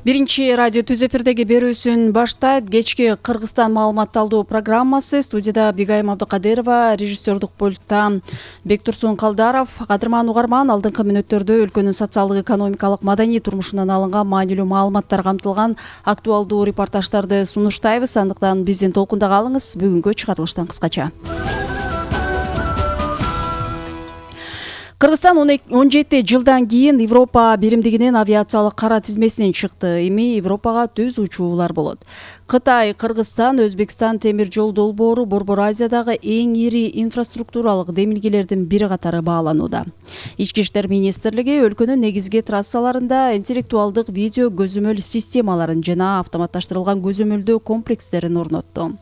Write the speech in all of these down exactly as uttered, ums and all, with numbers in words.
Биринчи радио Түз эфирдеги берүүсүн баштайт. Кечки Кыргызстан маалыматталдуу программасы. Студияда Бигайым Абдыкадырова, режиссердук пультта Бектурсун Калдаров. Кадырман угарман, алдыңкы мүнөттөрдө өлкөнүн социалдык, экономикалык, маданий турмушунан алынган маанилүү маалыматтар камтылган актуалдуу репортаждарды сунуштайбыз. Андыктан биздин толкунда калыңыз. Бүгүнкү чыгарылыштан кыскача. Кыргызстан он жети жылдан кийин Европа биримдигинин авиациялык кара тизмесинен чыкты. Эми Европага түз учуулар болот. Кытай, Кыргызстан, Өзбекстан темир жол долбоору Борбор Азиядагы эң ири инфраструктуралык демилгелердин бири катары бааланууда. Ички иштер министрлиги өлкөнүн негизги трассаларында интеллектуалдык видео көзөмөл системаларын жана автоматташтырылган көзөмөлдөө комплекстерин орнотту.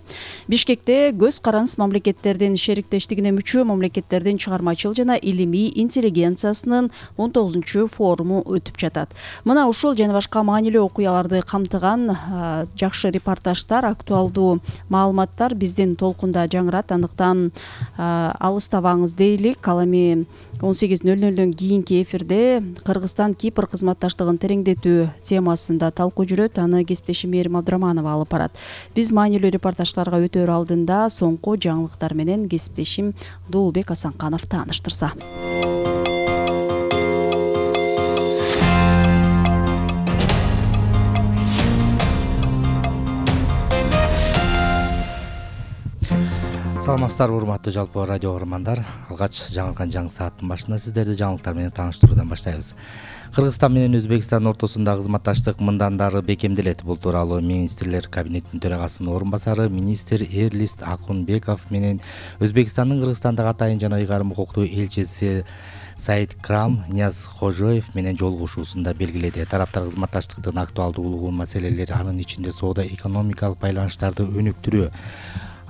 Бишкекте көз караныс мамлекеттердин шериктештигине мүчө мамлекеттердин чыгармачыл жана илимий интеллигенциясынын он тогузунчу форуму өтүп жатат. Мына ушул жана башка маанилүү окуяларды камтыган жакшы репортаждар, актуалдуу маалыматтар биздин толкунда жаңырат. Андыктан алыстабаңыз дейлик. Ал эми он сегиз нөл нөлдөн кийинки эфирде Кыргызстан Кипр кызматташтыгын тереңдетүү темасында талкуу жүрөт. Аны кесиптешим Мээрим Абдыраманова алып барат. Биз маанилүү репортаждарга өтөр алдында соңку жаңылыктар менен кесиптешим Дуулбек Асанканов тааныштырса. Саламатсыздарбы, урматтуу жалпы радио угармандар. Алгач жаңыркан жаңы сааттын башында сиздерди жаңылыктар менен тааныштыруудан баштайбыз. Кыргызстан менен Өзбекстан ортосунда кызматташтык мындандары бекемделет. Бул тууралуу министрлер кабинетинин төрагасынын орун басары министр Эрлист Акунбеков менен Өзбекстандын Кыргызстандагы атайын жана ыйгарым укуктуу элчиси Саид Крам Ниязхожоев менен жолугушуусунда белгиледи. Тараптар кызматташтыктын актуалдуулугу маселелери, анын ичинде соода экономикалык байланыштарды өнүктүрүү,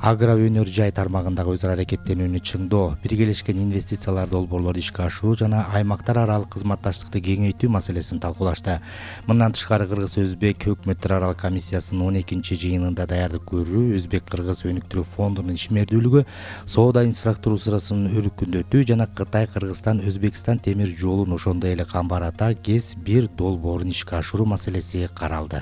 агро өнөр жай тармагындагы өз ара аракеттенүүнү чыңдоо, биргелешкен инвестициялар долбоорлорду ишке ашыруу жана аймактар аралык кызматташтыкты кеңейтүү маселесин талкуулашты. Мындан тышкары Кыргыз-Өзбек өкмөттөр аралык комиссиясынын он экинчи жыйынында даярдык көрүү, Өзбек-Кыргыз өнүктүрүү фондунун ишмердүүлүгү, соода инфраструктурасын өркүндөтүү жана Кытай-Кыргызстан-Өзбекстан темир жолун, ошондой эле Камбар Ата ГЭС бир долбоорун ишке ашыруу маселеси каралды.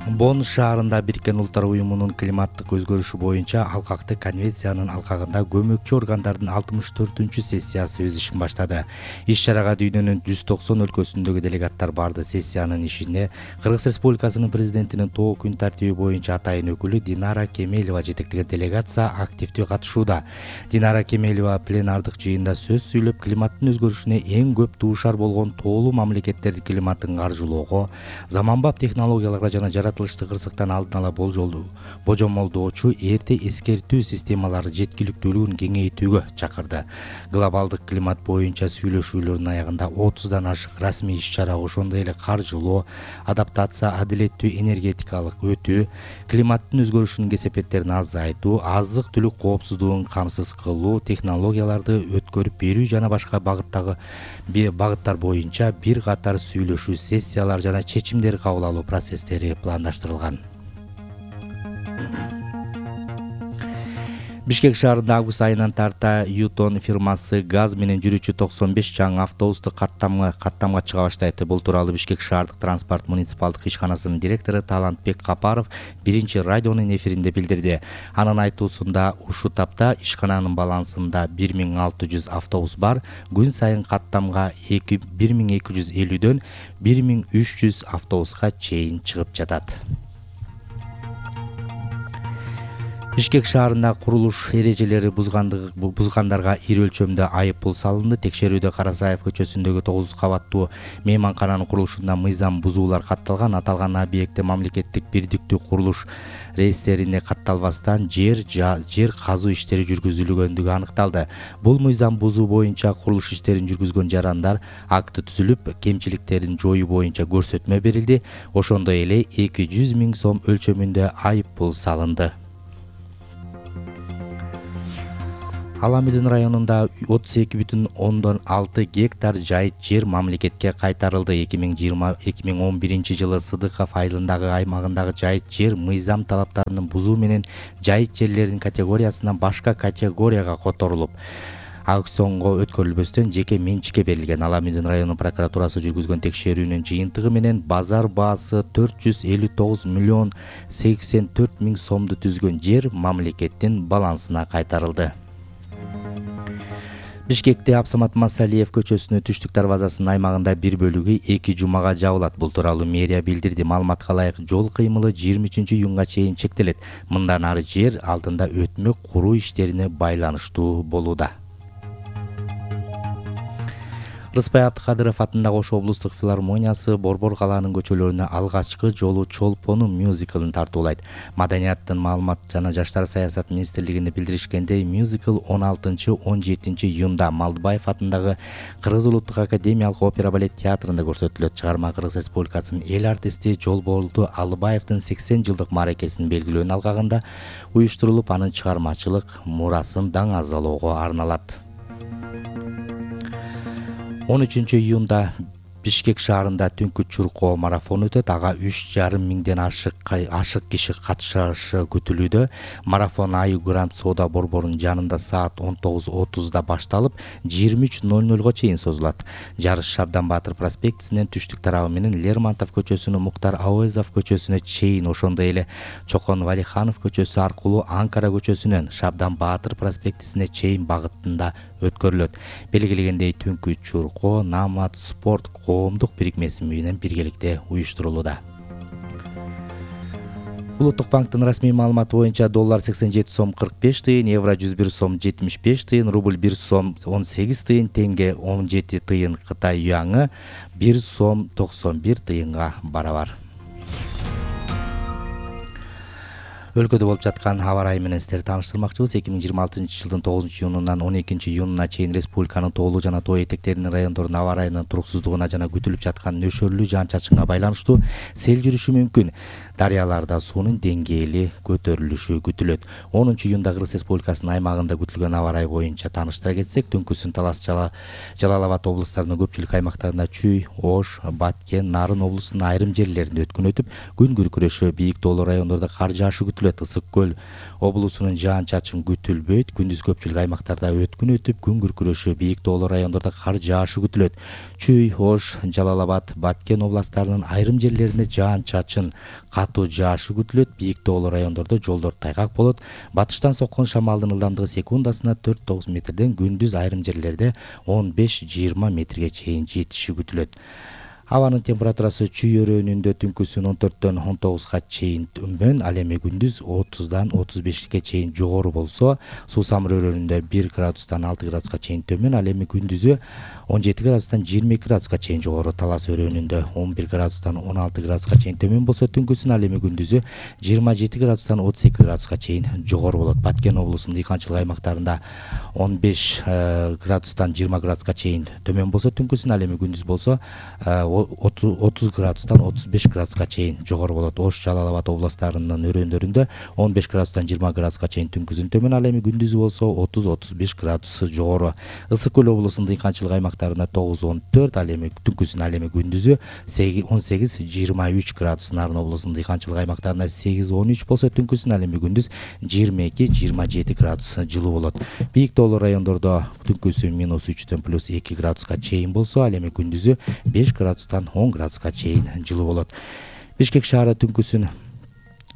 Бонн шаарында Бириккен Улуттар уюмунун климаттык өзгөрүшү боюнча алкактык конвенциянын алкагында көмөкчү органдардын алтымыш төртүнчү сессиясы өз ишин баштады. Иш-чарага дүйнөнүн жүз токсон өлкөсүндөгү делегаттар барды. Сессиянын ишине Кыргыз Республикасынын президентинин тоо күн тартиби боюнча атайын өкүлү Динара Кемелова жетектеген делегация активдүү катышууда. Динара Кемелова пленардык жыйында сөз сүйлөп, климаттын өзгөрүшүнө эң көп дуушар болгон тоолуу мамлекеттерди климаттын каржылоого, заманбап технологияларга жана жаратылышты кырсыктан алдын ала болжолдуу божомолдоочу эрте эскертүү системалары жеткиликтүүлүгүн кеңейтүүгө чакырды. Глобалдык климат боюнча сүйлөшүүлөрдүн аягында отуздан ашык расмий иш-чара, ошондой эле каржылоо, адаптация, адилеттүү энергетикалык өтүү, климаттын өзгөрүшүнүн кесепеттерин азайтуу, азык-түлүк коопсуздугун камсыз кылуу, технологияларды өткөрүп берүү жана башка багыттагы багыттар боюнча бир катар сүйлөшүү, сессиялар жана чечимдер кабыл алуу процесстери пландаштырылган. Бишкек шаарында август айынан тарта Ютон фирмасы газ менен жүрүүчү токсон беш жаңы автобусту каттамга каттамга чыга баштайт. Бул тууралуу Бишкек шаардык транспорт муниципалдык ишканасынын директору Талантбек Капаров биринчи радионун эфиринде билдирди. Анын айтуусунда ушул тапта ишкананын балансында бир миң алты жүз автобус бар. Күн сайын каттамга бир миң эки жүз элүүдөн бир миң үч жүз автобуска чейин чыгып жатат. Бишкек шаарында курулуш эрежелери бузгандарга ири өлчөмдө айып пул салынды. Текшерүүдө Карасаев көчөсүндөгү тогуз кабаттуу мейманкананын курулушунда мыйзам бузуулар катталган. Аталган объектте мамлекеттик бирдиктүү курулуш реестрине катталбастан жер жер казуу иштери жүргүзүлгөндүгү аныкталды. Бул мыйзам бузуу боюнча курулуш иштерин жүргүзгөн жарандар акты түзүлүп, кемчиликтерин жоюу боюнча көрсөтмө берилди. Ошондой эле эки жүз миң сом өлчөмүндө айып пул салынды. Аламидин районунда отуз эки бүтүн ондон алты гектар жайыт жер мамлекетке кайтарылды. эки миң жыйырма эки миң он биринчи жылы Сыдыков айылындагы аймагындагы жайыт жер мыйзам талаптарынын бузуу менен жайыт жерлердин категориясынан башка категорияга которулуп, аукционго өткөрүлбөстөн жеке менчикке берилген. Аламүндүн району прокуратурасы жүргүзгөн текшерүүнүн жыйынтыгы менен базар баасы төрт жүз элүү тогуз миллион сексен төрт миң сомду түзгөн жер мамлекеттин балансына кайтарылды. Бишкекте Абсамат Масалиев көчөсүнүн түштүк дарбазасынын аймагында бир бөлүгү эки жумага жабылат. Бул тууралуу мэрия билдирди. Маалыматка ылайык, жол кыймылы жыйырма үчүнчү июнга чейин чектелет. Мындан ары жер алдында өтмөк куруу иштерине байланыштуу болууда. Рыспай Абдыкадыров атындагы Ош облустук филармониясы Борбор калаанын көчөлөрүнө алгачкы жолу Чолпону мюзиклын тартуулайт. Маданияттын маалымат жана жаштар саясат министрлигинде билдиришкендей, мюзикл он алтынчы он жетинчи июнда Малдыбаев атындагы Кыргыз улуттук академиялык опера балет театрында көрсөтүлөт. Чыгарма Кыргыз Республикасынын эл артисти Жолболду Алыбаевдин сексен жылдык мааракесин белгилөөнүн алкагында уюштурулуп, анын чыгармачылык мурасын даңазалоого арналат. он үчүнчү июнда Бишкек шаарында түнкү чуркоо марафон өтөт. Ага үч жарым миңден ашык ашык киши катышышы күтүлүүдө. Марафон Аю Грант соода борборунун жанында саат он тогуз отузда башталып, жыйырма үч ноль нольго чейин созулат. Жарыш Шабдан Баатыр проспектисинен түштүк тарабы менен Лермонтов көчөсүнө, Муктар Ауезов көчөсүнө чейин, ошондой эле Чокон Валиханов көчөсү аркылуу Анкара көчөсүнөн Шабдан Баатыр проспектисине чейин багытында өткөрүлөт. Белгиленгендей, түнкү чуркоо Намат спорт коомдук бирикмеси менен биргеликте уюштурулууда. Улуттук банктын расмий маалыматы боюнча доллар сексен жети сом кырк беш тыйын, евро жүз бир сом жетимиш беш тыйын, рубль бир сом он сегиз тыйын, тенге он жети тыйын, Кытай юаңы бир сом токсон бир тыйынга барабар. Өлкөдө болуп жаткан аба ырайы менен сиздерди тааныштырмакчыбыз. эки миң жыйырма алтынчы жылдын тогузунчу июнунан он экинчи июнуна чейин республиканын тоолуу жана тоо этектеринин райондорунун аба ырайынын туруксуздугуна жана күтүлүп жаткан нөшөрлүү жаан-чачынга байланыштуу сел жүрүшү мүмкүн. Дарыяларда суунун деңгээли көтөрүлүшү күтүлөт. онунчу июнда Кыргыз Республикасынын аймагында күтүлгөн аба ырайы боюнча тааныштыра кетсек, түнкүсүн Талас, Жалал Абад облустарынын көпчүлүк аймактарында Чүй, Ош, Баткен, Нарын облусунун айрым жерлеринде өткүн өтүп, күн күркүрөшү, бийик тоолуу райондордо кар жаашы күтүлөт. Ысык көл облусунун жаан-чачын күтүлбөйт. Күндүз көпчүлүк аймактарда өткүн өтүп, күн күркүрөшү, бийик тоолуу райондордо кар жаашы күтүлөт. Чүй, Ош, Жалал Абад, Баткен областарынын айрым жерлеринде жаан-чачын катуу жаашы күтүлөт. Бийик тоолуу райондордо жолдор тайгак болот. Батыштан соккон шамалдын ылдамдыгы секундасына төрт тогуз метрден, күндүз айрым жерлерде он беш жыйырма метрге чейин жетиши күтүлөт. Абанын температурасы Чүй өрөөнүндө түнкүсүн он төрттөн он тогузга чейин төмөн, ал эми күндүз отуздан отуз бешке чейин жогору болсо, Суусамыр өрөөнүндө бир градустан алты градуска чейин төмөн, ал эми күндүзү он жети градустан жыйырма эки градуска чейин жогору. Талас өрөөнүндө он бир градустан он алты градуска чейин төмөн болсо, түнкүсүн ал эми күндүзү жыйырма жети градустан отуз эки градуска чейин жогору болот. Баткен облусунун дыйканчылык аймактарында он беш градустан жыйырма градуска чейин төмөн болсо, түнкүсүн ал эми күндүз болсо отуз градустан отуз беш градуска чейин жогору болот. Ош, Жалал Абад областарынын өрөөндөрүндө он беш градустан жыйырма градуска чейин түнкүсүн төмөн, ал эми күндүзү болсо отуз отуз беш градус жогору. Ысык көл облусунун дыйканчылык аймактарында тогуз он төрт, ал эми түнкүсүн ал эми күндүзү он сегиз жыйырма үч градус. Нарын облусунун дыйканчылык аймактарында сегиз он үч болсо, түнкүсүн ал эми күндүз жыйырма эки жыйырма жети градус жылуу болот. Бийик тоолуу райондордо түнкүсү минус үчтөн плюс эки градуска чейин болсо, ал эми күндүзү беш градустан он градуска чейин жылуу болот. Бишкек шаары түнкүсүн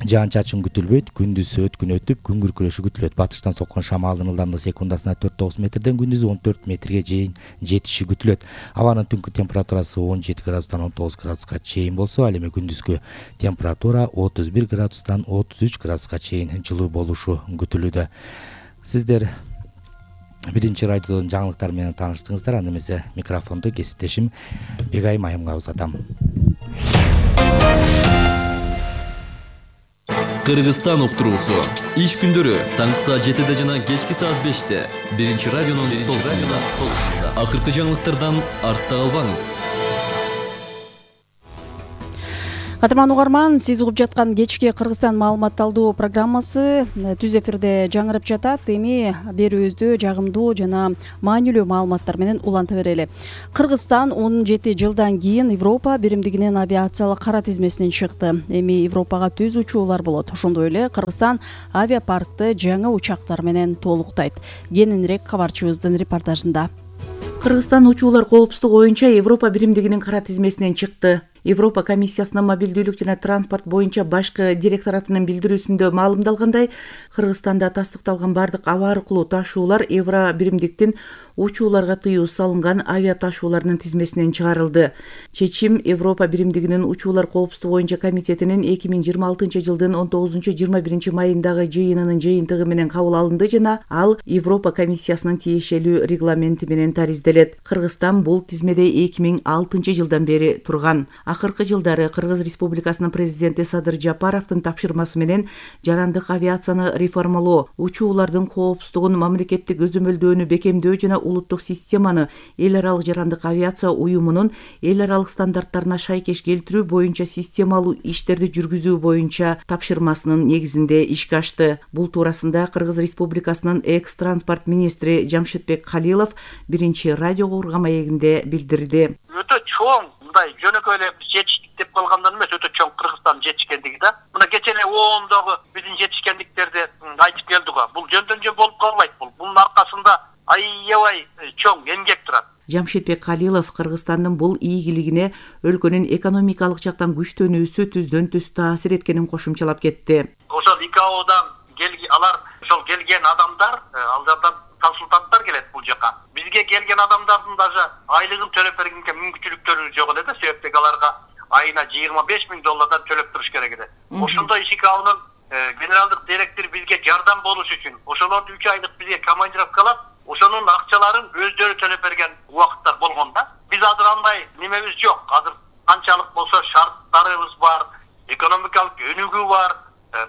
жаан-чачын күтүлбөйт, күндүз өткүн өтүп, күн күркүрөшү күтүлөт. Батыштан соккон шамалдын ылдамдыгы секундасына төрт тогуз метрден, күндүзү он төрт метрге чейин жетиши күтүлөт. Абанын түнкү температурасы он жети градустан он тогуз градуска чейин болсо, ал эми күндүзгү температура отуз бир градустан отуз үч градуска чейин жылуу болушу күтүлүүдө. Сиздер биринчи радиодон жаңылыктар менен тааныштыңыздар. Анда эмесе микрофонду кесиптешим Бегай Майымга узатам. Кыргызстан уктуруусу иш күндөрү таңкы саат жетиде жана кечки саат беште биринчи радионун толкунунда. Акыркы жаңылыктардан артта калбаңыз. Кадырман угарман, сиз угуп жаткан кечки Кыргызстан маалымат алуу программасы түз эфирде жаңырып жатат. Эми берүүбүздү жагымдуу жана маанилүү маалыматтар менен уланта берели. Кыргызстан он жети жылдан кийин Европа биримдигинин авиациялык кара тизмесинен чыкты. Эми Европага түз учуулар болот. Ошондой эле Кыргызстан авиапаркты жаңы учактар менен толуктайт. Кененирээк кабарчыбыздын репортажында. Кыргызстан учуулар коопсуздугу боюнча Европа биримдигинин кара тизмесинен чыкты. Европа комиссиясынын мобилдүүлүк жана транспорт боюнча башкы директоратынын билдирүүсүндө маалымдалгандай, Кыргызстанда тастыкталган бардык аба аркылуу ташуулар Евро биримдиктин учууларга тыюу салынган авиа ташуулардын тизмесинен чыгарылды. Чечим Европа биримдигинин учуулар коопсуздугу боюнча комитетинин эки миң жыйырма алтынчы жылдын он тогузунчу жыйырма биринчи майындагы жыйынынын жыйынтыгы менен кабыл алынды жана ал Европа комиссиясынын тиешелүү регламенти менен таризделет. Кыргызстан бул тизмеде эки миң алтынчы жылдан бери турган. Акыркы жылдары Кыргыз Республикасынын президенти Садыр Жапаровдун тапшырмасы менен жарандык авиацияны реформалоо, учуулардын коопсуздугун, мамлекеттик өзөмөлдөөнү бекемдөө жана улуттук системаны эл аралык жарандык авиация уюмунун эл аралык стандарттарына шайкеш келтирүү боюнча системалуу иштерди жүргүзүү боюнча тапшырмасынын негизинде ишке ашты. Бул туурасында Кыргыз Республикасынын экс транспорт министри Жамшитбек Калилов биринчи радиого урган маегинде билдирди. Өтө чоң мындай жөнөкөй эле жетиштик деп калгандан эмес, өтө чоң Кыргызстандын жетишкендиги да. Мына кече эле оондогу биздин жетишкендиктерди айтып келдик го. Бул жөндөн жөн болуп калбайт. Бул бунун аркасында аябай чоң эмгек турат. Жамшитбек Калилов Кыргызстандын бул ийгилигине өлкөнүн экономикалык жактан күчтөнүүсү түздөн түз таасир эткенин кошумчалап кетти. Ошол ИКАОдан келген алар, ошол келген адамдар, алардан консультанттар келет бул жака. Бизге келген адамдардын даже айлыгын төлөп бергенге мүмкүнчүлүктөрү жок эле да, себептеги аларга айына жыйырма беш миң доллардан төлөп туруш керек эле. Ошондой ИКАОнун генералдык директори бизге жардам болуш үчүн ошолорду үч айлык бизге командировкалап, ошонун акчаларын өздөрү төлөп берген убакыттар болгон да. Биз азыр андай немебиз жок. Азыр канчалык болсо шарттарыбыз бар, экономикалык өнүгүү бар.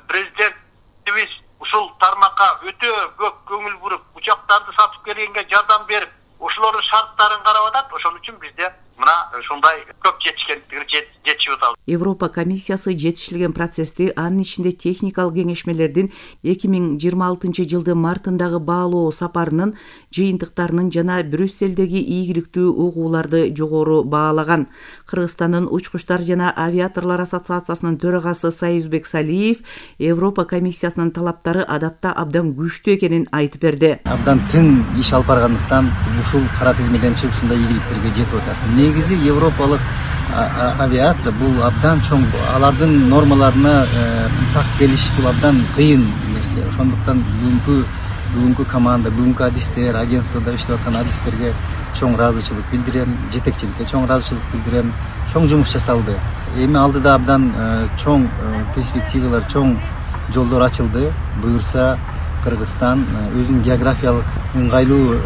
Президентибиз ушул тармакка өтө көп көңүл буруп, учактарды сатып келгенге жардам берип, ошолордун шарттарын карап атат. Ошон үчүн бизде мына ушундай көп жетишкендикти жетишип атабыз. Европа комиссиясы жетишилген процессти, анын ичинде техникалык кеңешмелердин эки миң жыйырма алтынчы жылдын мартындагы баалоо сапарынын жыйынтыктарынын жана Брюсселдеги ийгиликтүү угууларды жогору баалаган. Кыргызстандын учкучтар жана авиаторлор ассоциациясынын төрагасы Союзбек Салиев Европа комиссиясынын талаптары адатта абдан күчтүү экенин айтып берди. Абдан тең иш алып баргандыктан ушул кара тизмеден чыгып ушундай ийгиликтерге жетип атат. Негизи европалык авиация бул абдан чоң, алардын нормаларына так келиш бул абдан кыйын нерсе. Ошондуктан бүгүнкү бүгүнкү команда, бүгүнкү адистер, агентствода иштеп аткан адистерге чоң ыраазычылык билдирем, жетекчиликке чоң ыраазычылык билдирем. Чоң жумуш жасалды. Эми алдыда абдан чоң перспективалар, чоң жолдор ачылды. Буюрса Кыргызстан өзүнүн географиялык ыңгайлуу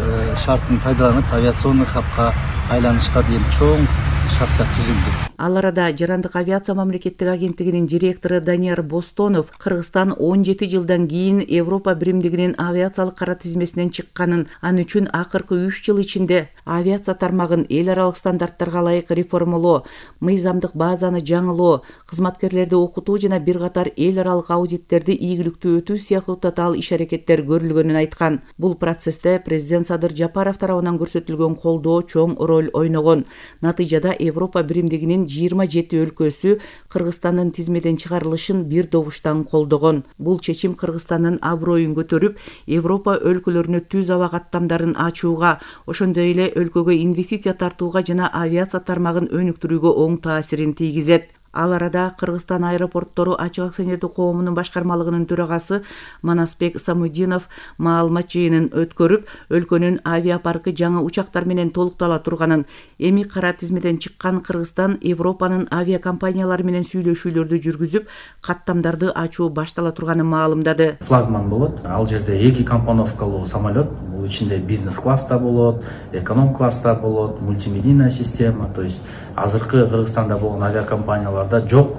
шартын пайдаланып авиационный хабка айланышка дейин чоң шарттар түзүлдү. Ал арада жарандык авиация мамлекеттик агенттигинин директору Данияр Бостонов Кыргызстан он жети жылдан кийин Европа биримдигинин авиациялык кара тизмесинен чыкканын, ал үчүн акыркы үч жыл ичинде авиация тармагын эл аралык стандарттарга ылайык реформалоо, мыйзамдык базаны жаңылоо, кызматкерлерди окутуу жана бир катар эл аралык аудиттерди ийгиликтүү өтүү сыяктуу татаал иш-аракеттер көрүлгөнүн айткан. Бул процессте президент Садыр Жапаров тарабынан көрсөтүлгөн колдоо чоң роль ойногон. Натыйжада Европа биримдигинин жыйырма жети өлкөсү Кыргызстандын тизмеден чыгарылышын бир добуштан колдогон. Бул чечим Кыргызстандын аброюн көтөрүп, Европа өлкөлөрүнө түз аба каттамдарын ачууга, ошондой эле өлкөгө инвестиция тартууга жана авиация тармагын өнүктүрүүгө оң таасирин тийгизет. Ал арада Кыргызстан аэропорттору ачык акционердик коомунун башкармалыгынын төрагасы Манасбек Самудинов маалымат жыйынын өткөрүп, өлкөнүн авиапаркы жаңы учактар менен толуктала турганын, эми кара тизмеден чыккан Кыргызстан Европанын авиакомпаниялары менен сүйлөшүүлөрдү жүргүзүп, каттамдарды ачуу баштала турганын маалымдады. Флагман болот. Ал жерде эки компоновкалуу самолет, бул ичинде бизнес класста болот, эконом класста болот, мультимедийная система, то есть азыркы Кыргызстанда болгон авиакомпанияларда жок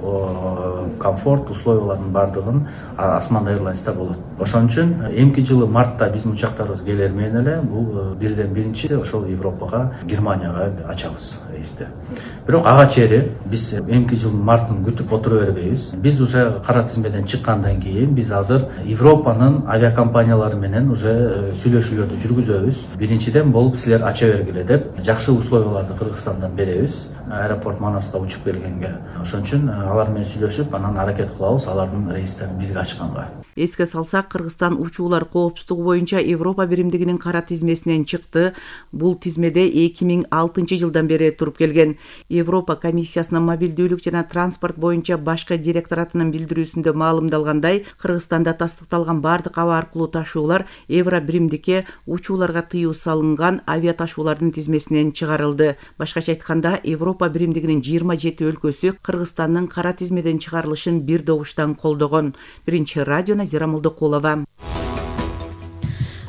комфорт условиялардын бардыгын Осман Airlines'та болот. Ошон үчүн эмки жылы мартта биздин учактарыбыз келер менен эле бул бирден биринчи ошол Европага, Германияга ачабыз. рейсти. Бирок ага чейин биз эмки жылдын мартын күтүп отура бербейбиз. Биз уже кара тизмеден чыккандан кийин биз азыр Европанын авиакомпаниялары менен уже сүйлөшүүлөрдү жүргүзөбүз. Биринчиден бул силер ача бергиле деп жакшы условияларды Кыргызстандан беребиз. Аэропорт Манаска учуп келгенге. Ошон үчүн алар менен сүйлөшүп, анан аракет кылабыз алардын рейстерин бизге ачканга. Эске салсак, Кыргызстан учуулар коопсуздугу боюнча Европа биримдигинин кара тизмесинен чыкты. Бул тизмеде эки миң алтынчы жылдан бери туруп келген. Европа комиссиясынын мобилдүүлүк жана транспорт боюнча башкы директоратынын билдирүүсүндө маалымдалгандай, Кыргызстанда тастыкталган бардык аба аркылуу ташуулар Евро биримдикке учууларга тыюу салынган авиа ташуулардын тизмесинен чыгарылды. Башкача айтканда, Европа биримдигинин жыйырма жети өлкөсү Кыргызстандын кара тизмеден чыгарылышын бир добуштан колдогон. Биринчи радио Назира Молдокулова.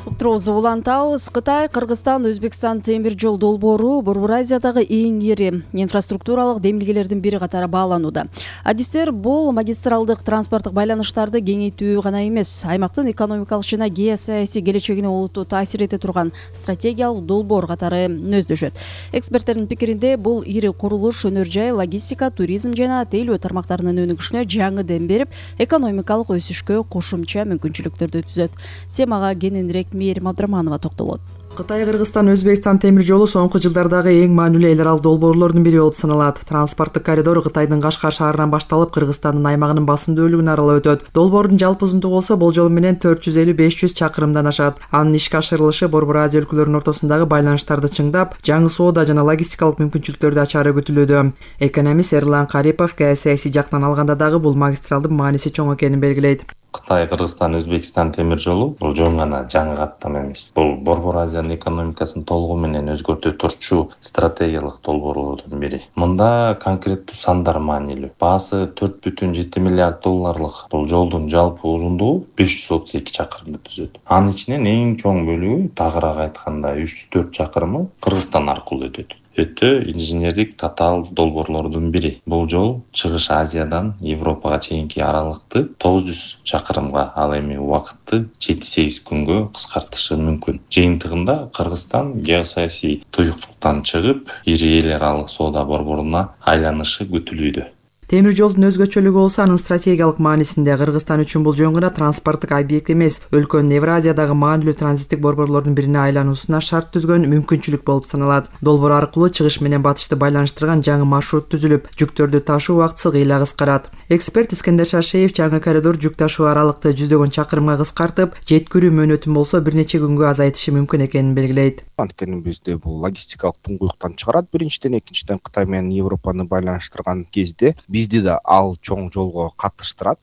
Уктуруубузду улантабыз. Кытай, Кыргызстан, Өзбекстан темир жол долбоору Борбор Азиядагы эң ири инфраструктуралык демилгелердин бири катары бааланууда. Адистер бул магистралдык транспорттук байланыштарды кеңейтүү гана эмес, аймактын экономикалык жана геосаясий келечегине олуттуу таасир эте турган стратегиялык долбоор катары нөздөшөт. Эксперттердин пикиринде, бул ири курулуш өнөр жай, логистика, туризм жана тейлөө тармактарынын өнүгүшүнө жаңы дем берип, экономикалык өсүшкө кошумча мүмкүнчүлүктөрдү түзөт. Темага кененирээк Мээрим Абдраманова токтолот. Кытай, Кыргызстан, Өзбекстан темир жолу соңку жылдардагы эң маанилүү эл аралык долбоорлордун бири болуп саналат. Транспорттук коридор Кытайдын Кашкар шаарынан башталып, Кыргызстандын аймагынын басымдуу бөлүгүн аралап өтөт. Долбоордун жалпы узундугу болсо болжол менен төрт жүз элүү беш жүз чакырымдан ашат. Анын ишке ашырылышы Борбор Азия өлкөлөрүнүн ортосундагы байланыштарды чыңдап, жаңы соода жана логистикалык мүмкүнчүлүктөрдү ачаары күтүлүүдө. Экономист Эрлан Карипов геосаясий жактан алганда дагы бул магистралдын мааниси чоң экенин белгилейт. Кытай, Кыргызстан, Өзбекстан темир жолу бул жөн гана жаңы каттам эмес. Бул Борбор Азиянын экономикасын толугу менен өзгөртө турчу стратегиялык долбоорлордун бири. Мында конкреттүү сандар маанилүү. Баасы төрт бүтүн жети миллиард долларлык бул жолдун жалпы узундугу беш жүз отуз эки чакырымды түзөт. Анын ичинен эң чоң бөлүгү, тагыраак айтканда үч жүз төрт чакырымы Кыргызстан аркылуу өтөт. Өтө инженердик татаал долбоорлордун бири. Бул жол Чыгыш Азиядан Европага чейинки аралыкты тогуз жүз чакырымга, ал эми убакытты жети сегиз күнгө кыскартышы мүмкүн. Жыйынтыгында Кыргызстан геосаясий туюктуктан чыгып, ири эл аралык соода борборуна айланышы күтүлүүдө. Темир жолдун өзгөчөлүгү болсо анын стратегиялык маанисинде. Кыргызстан үчүн бул жөн гана транспорттук объект эмес, өлкөнүн Евразиядагы маанилүү транзиттик борборлордун бирине айлануусуна шарт түзгөн мүмкүнчүлүк болуп саналат. Долбоор аркылуу чыгыш менен батышты байланыштырган жаңы маршрут түзүлүп, жүктөрдү ташуу убактысы кыйла кыскарат. Эксперт Искендер Шашеев жаңы коридор жүк ташуу аралыкты жүздөгөн чакырымга кыскартып, жеткирүү мөөнөтүн болсо бир нече күнгө азайтышы мүмкүн экенин белгилейт. Анткени бизде бул логистикалык туңгуюктан чыгарат. Биринчиден, экинчиден Кытай менен Европаны байланыштырган кезде бизди да ал чоң жолго катыштырат.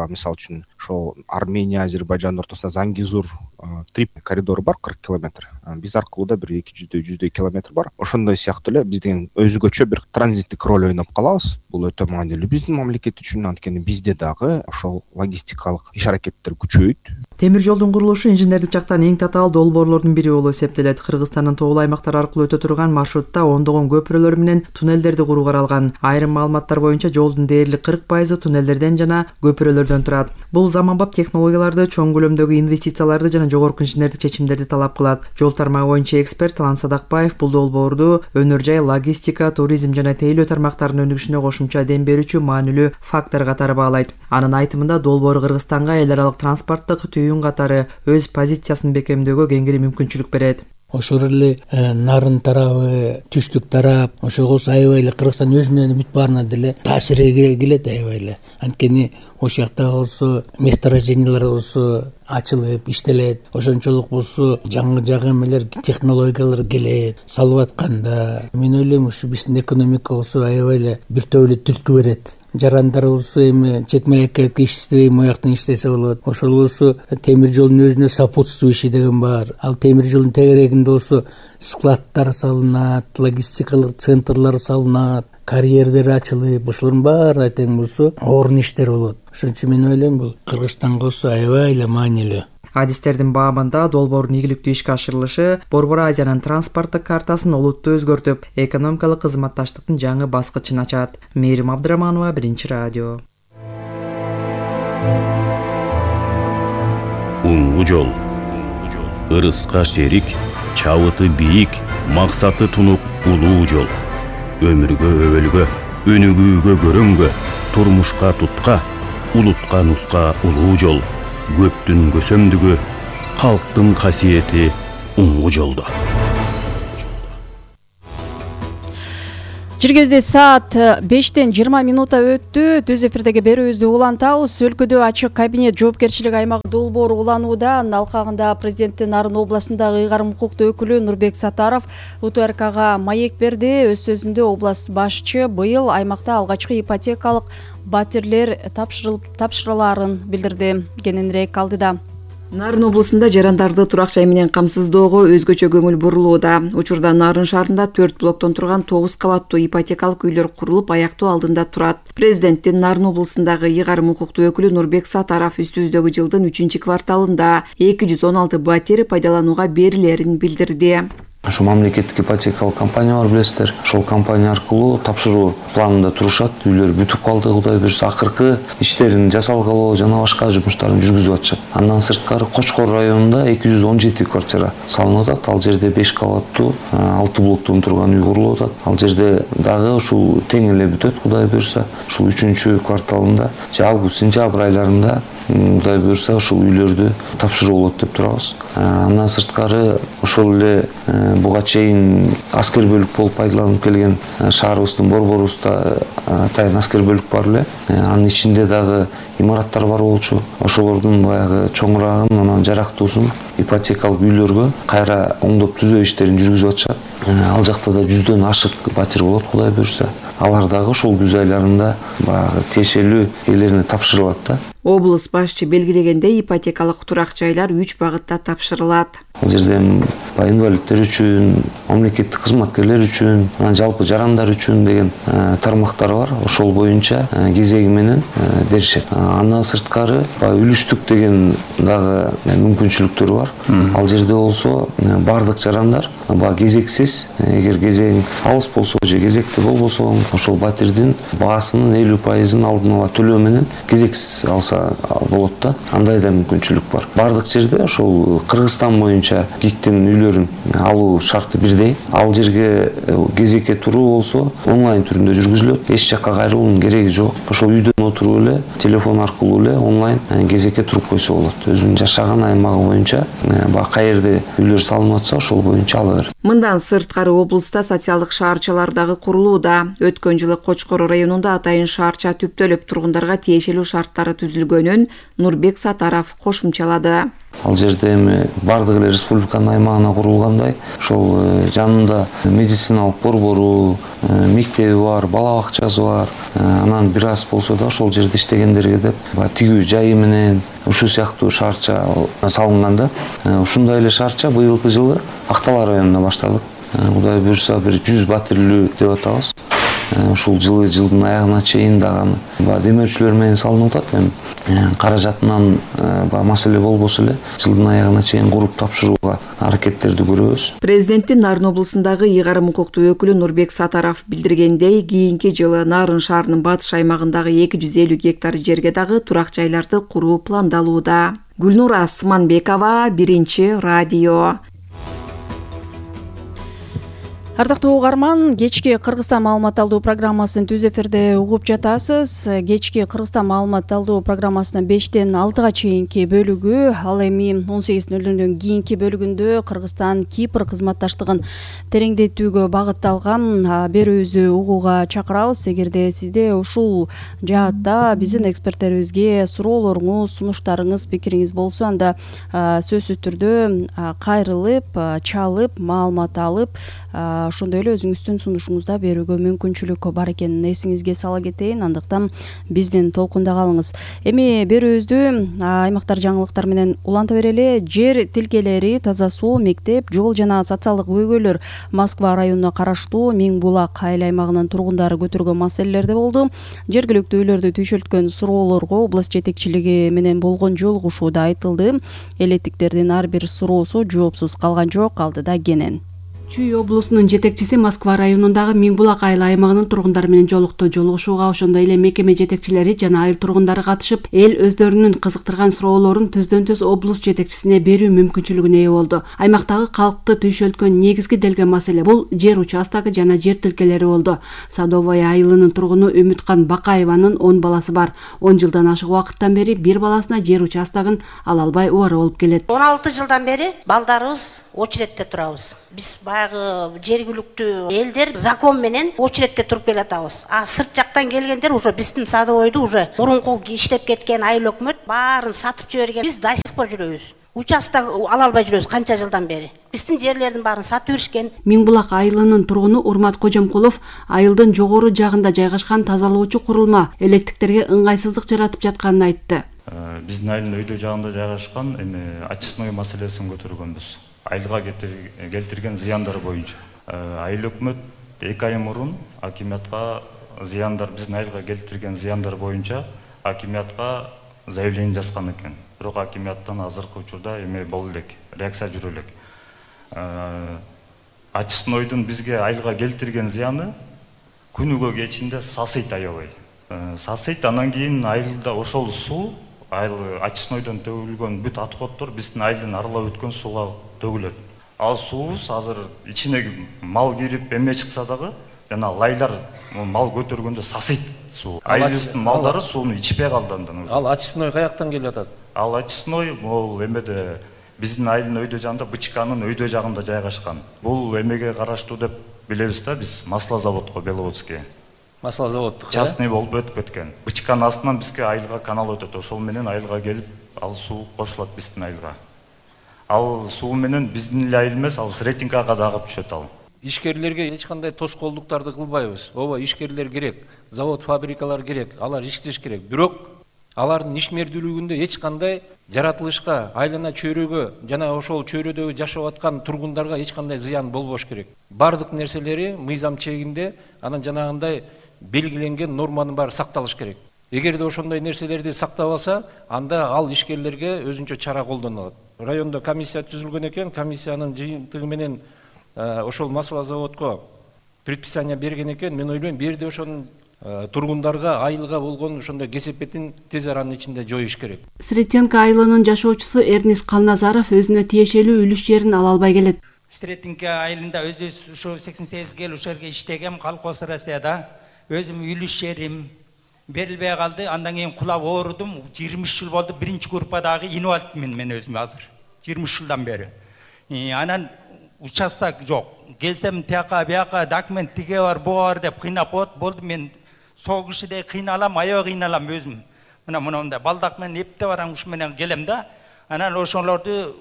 Мисалы үчүн ошол Армения, Азербайжан ортосунда Зангизур трип коридору бар, кырк километр. Биз аркылуу да бир эки жүздөй жүздөй километр бар. Ошондой сыяктуу эле биздин өзгөчө бир транзиттик роль ойноп калабыз. Бул өтө маанилүү биздин мамлекет үчүн, анткени бизде дагы ошол логистикалык иш-аракеттер күчөйт. Темир жолдун курулушу инженердик жактан эң татаал долбоорлордун бири болуп эсептелет. Кыргызстандын тоолуу аймактар аркылуу өтө турган маршрутта ондогон көпүрөлөр менен туннелдерди куруу каралган. Айрым маалыматтар боюнча жолдун дээрлик кырк пайызы туннелдерден жана көпүрөлөрдөн турат. Бул заманбап технологияларды, чоң көлөмдөгү инвестицияларды жана жогорку инженердик чечимдерди талап кылат. Жол тармагы боюнча эксперт Талан Садакбаев бул долбоорду өнөр жай, логистика, туризм жана тейлөө тармактарынын өнүгүшүнө кошумча дем берүүчү маанилүү фактор катары баалайт. Анын айтымында долбоор Кыргызстанга эл аралык транспорттук түйүн катары өз позициясын бекемдөөгө кеңири мүмкүнчүлүк берет. Ошол эле нарын тарабы, түштүк тарап, ошого аябай эле Кыргызстан өзүнөн бүт баарына деле таасир келет аябай эле. Анткени ошол жакта болсо месторождениялар болсо ачылып иштелет, ошончолук болсо жаңы жаңы эмелер, технологиялар келет. Салып атканда мен ойлойм ушу биздин экономика болсо аябай эле бир топ эле түрткү берет. Жарандар болсо эми чет мамлекетке иштебей мояктан иштесе болот. Ошол болсо темир жолдун өзүнө сопутствующий деген бар. Ал темир жолдун тегерегинде болсо складтар салынат, логистикалык центрлар салынат, карьерлер ачылып, ошолордун баары тең болсо орун иштер болот. Ошон үчүн мен ойлойм бул Кыргызстанга болсо аябай эле маанилүү. Адистердин баамында долбоордун ийгиликтүү ишке ашырылышы Борбор Азиянын транспорттук картасын олуттуу өзгөртүп, экономикалык кызматташтыктын жаңы баскычын ачат. Мээрим Абдраманова, Биринчи радио. Улуу жол. Ырыска шерик, чабыты бийик, максаты тунук улуу жол. өмүргө өбөлгө, өнүгүүгө көрөнгө, турмушка тутка, улутка нуска улуу жол, көптүн көсөмдүгү, калктын касиети уңгу жолдо. Жергезде саат бештен жыйырма минута өттү. Түз эфирдеги берүүбүздү улантабыз. Өлкөдө ачык кабинет жоопкерчилик аймагы долбоору уланууда. Алкагында президенттин Нарын областындагы ыйгарым укуктуу өкүлү Нурбек Сатаров У Т Р Кга маек берди. Өз сөзүндө област башчы быйыл аймакта алгачкы ипотекалык батирлер тапшырылаарын билдирди. Кененирээк алдыда. Нарын областында жарандарды турак жай менен камсыздоого өзгөчө көңүл бурулууда. Учурда Нарын шаарында төрт блоктон турган тогуз кабаттуу ипотекалык үйлөр курулуп, аяктоо алдында турат. Президенттин Нарын областындагы ыйгарым укуктуу өкүлү Нурбек Сатаров үстүбүздөгү жылдын үчүнчү кварталында эки жүз он алты батир пайдаланууга берилерин билдирди. Ошо мамлекеттик ипотекалык компания бар, билесиздер. Ошол компания аркылуу тапшыруу планында турушат. Үйлөр бүтүп калды, Кудай буйрса, акыркы иштерин жасалгалоо жана башка жумуштарын жүргүзүп атышат. Андан сырткары Кочкор районунда эки жүз он жети квартира салынып атат. Ал жерде беш кабаттуу алты блоктон турган үй курулуп атат. Ал жерде дагы ушул тең эле бүтөт, Кудай буйрса. Ушул үчүнчү кварталында, же август, сентябрь айларында Кудай буйрса ушул үйлөрдү тапшыруу болот деп турабыз. Андан сырткары ошол эле буга чейин аскер бөлүк болуп пайдаланып келген шаарыбыздын борборубузда атайын аскер бөлүк бар эле. Анын ичинде дагы имараттар бар болчу. Ошолордун баягы чоңурагын, анан жарактуусун ипотекалык үйлөргө кайра оңдоп түзөө иштерин жүргүзүп атышат. Ал жакта да жүздөн ашык батир болот, Кудай буйрса. Алар дагы ушул күз айларында баягы тиешелүү ээлерине тапшырылат да. Облус башчы белгилегендей, ипотекалык турак жайлар үч багытта тапшырылат. Ал жерде инвалидтер үчүн, мамлекеттик кызматкерлер үчүн, анан жалпы жарандар үчүн деген тармактар бар. Ошол боюнча кезеги менен беришет. Андан сырткары үлүштүк деген дагы мүмкүнчүлүктөр бар. Ал жерде болсо бардык жарандар кезексиз, эгер кезең алыс болсо же кезекте болбосо, ошол батирдин баасынын элүү пайызын алдын ала төлөө менен кезексиз алса болот да. Андай да мүмкүнчүлүк бар. Бардык жерде ошол Кыргызстан боюнча ГИКтин үйлөрүн алуу шарты бирдей. Ал жерге кезекке туруу болсо онлайн түрүндө жүргүзүлөт. Эч жакка кайрылуунун кереги жок. Ошол үйдөн отуруп эле телефон аркылуу эле онлайн кезекке туруп койсо болот. Өзүнүн жашаган аймагы боюнча баягы каерде үйлөр салынып атса ошол боюнча ала берет. Мындан сырткары облуста социалдык шаарчалар дагы курулууда. Өткөн жылы Кочкор районунда атайын шаарча түптөлүп тургундарга тиешелүү шарттары түзүлгөнүн Нурбек Сатаров кошумчалады. Ал жерде эми бардык эле республиканын аймагына курулгандай, ошол жанында медициналык борбору, мектеби бар, бала бакчасы бар. Анан бир аз болсо да ошол жерде иштегендерге деп тигүү жайы менен ушул сыяктуу шаарча салынган да. Ушундай эле шаарча быйылкы жылы Актала районунда баштадык. Кудай буйрса бир жүз батирлүү деп атабыз. Ушул жылы жылдын аягына чейин дагы демөөрчүлөр менен салынып атат. Эми каражатынан маселе болбосо эле жылдын аягына чейин куруп тапшырууга аракеттерди көрөбүз. Президенттин Нарын областындагы ыйгарым укуктуу өкүлү Нурбек Сатаров билдиргендей, кийинки жылы Нарын шаарынын батыш аймагындагы эки жүз элүү гектар жерге дагы турак жайларды куруу пландалууда. Гүлнура Асманбекова, Биринчи радио. Ардактуу угарман, кечки Кыргызстан маалымат алуу программасын түз эфирде угуп жатасыз. Кечки Кыргызстан маалымат алуу программасынын бештен алтыга чейинки бөлүгү, ал эми он сегиз нөл нөлдөн кийинки бөлүгүндө Кыргызстан Кипр кызматташтыгын тереңдетүүгө багытталган берүүбүздү угууга чакырабыз. Эгерде сизде ушул жаатта биздин эксперттерибизге суроолоруңуз, сунуштарыңыз, пикириңиз болсо, анда сөзсүз түрдө кайрылып, чалып, маалымат алып, ошондой эле өзүңүздүн сунушуңузду берүүгө мүмкүнчүлүк бар экенин эсиңизге сала кетейин. Андыктан биздин толкунда калыңыз. Эми берүүбүздү аймактар жаңылыктар менен уланта берели. Жер тилкелери, таза суу, мектеп, жол жана социалдык көйгөйлөр Москва районуна караштуу Миң Булак айыл аймагынын тургундары көтөргөн маселелерде болду. Жергиликтүү үйлөрдү түйшөлткөн суроолорго область жетекчилиги менен болгон жолугушууда айтылды. Элеттиктердин ар бир суроосу жоопсуз калган жок. Алдыда Кенен. Чүй облусунун жетекчиси Москва районундагы Миңбулак айыл аймагынын тургундары менен жолукту. Жолугушууга ошондой эле мекеме жетекчилери жана айыл тургундары катышып, эл өздөрүнүн кызыктырган суроолорун түздөн-түз облус жетекчисине берүү мүмкүнчүлүгүнө ээ болду. Аймактагы калкты түйшөлткөн негизги делген маселе бул жер участогу жана жер тилкелери болду. Садовая айылынын тургуну Үмүткан Бакаеванын он баласы бар. он жылдан ашык убакыттан бери бир баласына жер участогун ала албай убара болуп келет. он алты жылдан бери балдарыбыз очередте турабыз. Биз баягы жергиликтүү элдер закон менен очередте туруп келатабыз. А сырт жактан келгендер уже биздин садовойду уже мурунку иштеп кеткен айыл өкмөт баарын сатып жиберген. Биз до сих пор жүрөбүз. Участок ала албай жүрөбүз канча жылдан бери. Биздин жерлердин баарын сатып беришкен. Миңбулак айылынын тургуну Урмат Кожомкулов айылдын жогору жагында жайгашкан тазалоочу курулма электиктерге ыңгайсыздык жаратып жатканын айтты. Биздин айылдын өйдө жагында жайгашкан эми очистной маселесин көтөргөнбүз. Айылга келтирген зыяндар боюнча. Айыл өкмөт эки ай мурун акимиятка зыяндар биздин айылга келтирген зыяндар боюнча акимиятка заявление жазган экен. Бирок акимияттан азыркы учурда эме болду элек, реакция жүрө элек. Очистнойдун бизге айылга келтирген зыяны күнүгө кечинде сасыйт аябай. Сасыйт, анан кийин айылда ошол суу айыл очистнойдон төгүлгөн бүт отходдор биздин айылдын аралап өткөн сууга төгүлөт. Ал суубуз азыр ичине мал кирип эме чыкса дагы жана лайлар мал көтөргөндө сасыйт суу. Айылыбыздын малдары сууну ичпей калды андан уже. Ал очистной каяктан келип атат? Ал очистной бул эмеде биздин айылдын өйдө жагында Бычканын өйдө жагында жайгашкан. Бул эмеге караштуу деп билебиз да биз, маслозаводко Беловодский. Маслозаводдук. Частный болуп өтүп кеткен. Бычканын астынан бизге айылга канал өтөт. Ошол менен айылга келип, ал суу кошулат биздин айылга. Ал суу менен биздин эле айыл эмес, ал Сретенкага да агып түшөт ал. Ишкерлерге эч кандай тоскоолдуктарды кылбайбыз. Ооба, ишкерлер керек, завод, фабрикалар керек, алар иштеш керек. Бирок алардын ишмердүүлүгүндө эч кандай жаратылышка, айлана чөйрөгө жана ошол чөйрөдөгү жашап аткан тургундарга эч кандай зыян болбош керек. Бардык нерселери мыйзам чегинде, анан жанагындай белгиленген норманын баары сакталыш керек. Эгерде ошондой нерселерди сактабаса, анда ал ишкерлерге өзүнчө чара колдонулат. Райондо комиссия түзүлгөн экен, комиссиянын жыйынтыгы менен ошол маслозаводко предписание берген экен. Мен ойлойм, бир жерде ошонун тургундарга айылга болгон ошондой кесепетин тез аранын ичинде жоюш керек. Сретенка айылынын жашоочусу Эрнис Калназаров өзүнө тиешелүү үлүш жерин ала албай келет. Сретенка айылында өзүбүз ушу сексен сегиз жыл ушул жерге иштегем, колхоз Россияда. Өзүм үлүш жерим берилбей калды. Андан кийин кулап оорудум. жыйырма үч жыл болду. Биринчи группадагы инвалидмин мен өзүм азыр. жыйырма үч жылдан бери. Анан участок жок. Келсем тияка бияка документ тиге бар, буга бар деп кыйнап коет. Болду, мен сол кишидей кыйналам, аябай кыйналам өзүм. Мына мындай балдак менен эпте барам, ушу менен келем да. Анан ошолорду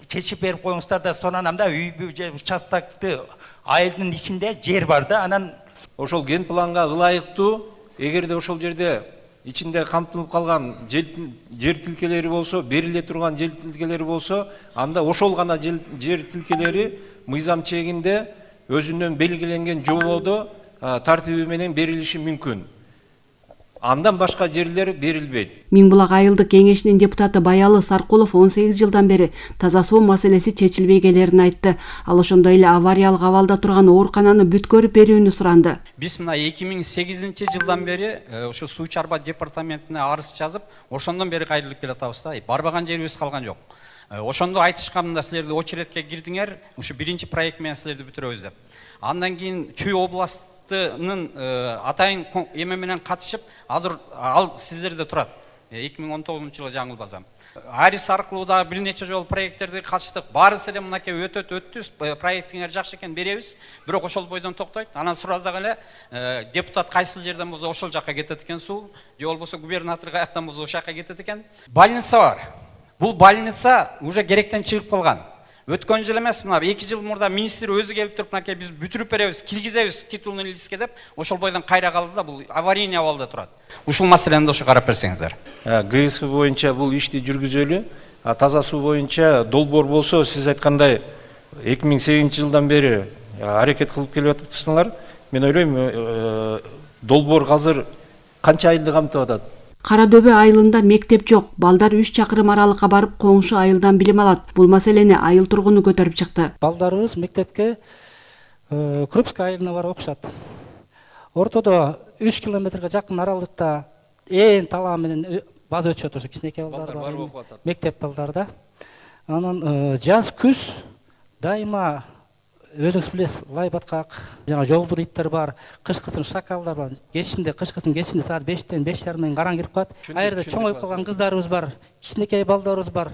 чечип берип коюңуздар да сонанам да, үйбү же участокты айылдын ичинде жер бар да. Анан ошол ген планга ылайыктуу, эгерде ошол жерде ичинде камтылып калган жер тилкелери болсо, бериле турган жер тилкелери болсо, анда ошол гана жер тилкелери мыйзам чегинде өзүнөн белгиленген жолдо тартиби менен берилиши мүмкүн. Андан башка жерлер берилбейт. Миңбулак айылдык кеңешинин депутаты Баялы Саркулов он сегиз жылдан бери таза суу маселеси чечилбей келерин айтты. Ал ошондой эле авариялык абалда турган оорукананы бүткөрүп берүүнү суранды. Биз мына эки миң сегизинчи жылдан бери ошо суу чарба департаментине арыз жазып, ошондон бери кайрылып келатабыз да. Барбаган жерибиз калган жок. Ошондо айтышканмында силерди очередке кирдиңер, ушу биринчи проект менен силерди бүтүрөбүз деп. Андан кийин Чүй областынын атайын эме менен катышып, азыр ал сиздерде турат. эки миң он тогузунчу жылы жаңылбасам. Арис аркылуу да бир нече жолу проекттерди катыштык. Баарысы эле мынакей өтөт өттү, проектиңер жакшы экен беребиз. Бирок ошол бойдон токтойт. Анан суразак эле депутат кайсыл жерден болсо ошол жакка кетет экен суу, же болбосо губернатор каяктан болсо ошол жакка кетет экен. Больница бар. Бул больница уже керектен чыгып калган. Өткөн жыл эмес, мына эки жыл мурда министр өзү келип туруп, мынакей биз бүтүрүп беребиз, киргизебиз титулный листке деп, ошол бойдон кайра калды да, бул аварийный абалда турат. Ушул маселени ошо карап берсеңиздер. ГСФ боюнча бул ишти жүргүзөлү. Таза суу боюнча долбоор болсо, сиз айткандай эки миң сегизинчи жылдан бери аракет кылып келип атасыңар. Мен ойлойм, долбоор азыр канча айылды камтып атат? Кара Дөбө айылында мектеп жок. Балдар үч чакырым аралыкка барып коңшу айылдан билим алат. Бул маселени айыл тургуну көтөрүп чыкты. Балдарыбыз мектепке Крупская айылына барып окушат. Ортодо үч километрге жакын аралыкта ээн талаа менен база өтүшөт, ошо кичинекей балдар бар, мектеп балдар да. Анан жаз күз дайыма өзүңүз билесиз, лай баткак, жана жолбур иттер бар, кышкысын шакалдар бар. Кечинде, кышкысын кечинде саат бештен беш жарымдан караң кирип калат. Айрда чоңоюп калган кыздарыбыз бар, кичинекей балдарыбыз бар.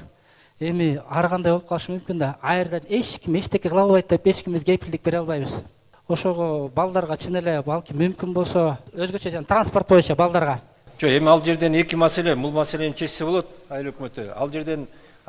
Эми ар кандай болуп калышы мүмкүн да. Айрдан эч ким эчтеке кыла албайт деп эч кимибиз кепилдик бере албайбыз. Ошого балдарга чын эле балким мүмкүн болсо өзгөчө жана транспорт боюнча балдарга. Жок, эми ал жерден эки маселе, бул маселени чечсе болот айыл өкмөтү. Ал жерден